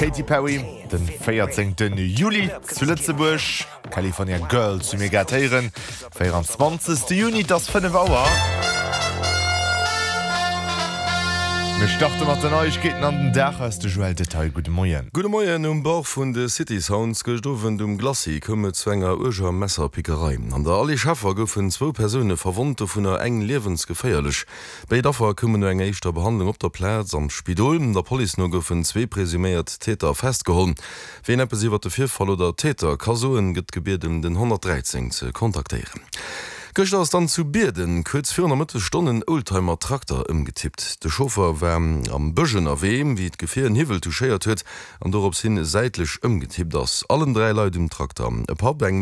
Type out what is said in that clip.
Katy Perry, den 14 Juli zu Lëtzebuerg. California Girls hu mir grad héieren. 24. Juni, et ass 5 Auer. Mir starte mat den Neiegkeeten an den Dag aus de Joël Detail. Gudde Moien. Gudde Moien. Um Bord vun de City Sounds gëscht Owend um Glacis koum et zu enger uerger Messerpickerei. An der Allée Scheffer goufen zwou Persoune verwonnt, dovunner eng liewensgeféierlech. Béid Affer koumen no enger éischter Behandlung op der Plaz an d'Spidol. Der Police no goufen zwee presuméiert Täter festgeholl. Ween eppes iwwer de Virfall oder d'Täter ka soen, gëtt gebieden, den 113 ze kontaktéieren. Gëschter ass dann zu Bierden kuerz virun der Mëttesstonn en Oldtimer-Trakter ëmgetippt. De Chauffer war am Bësch ënnerwee, wéi d'Gefier en Hiwwel touchéiert huet an dorops hin säitlech ëmgetippt ass. Allen 3 Leit um Trakter, e Papp, eng.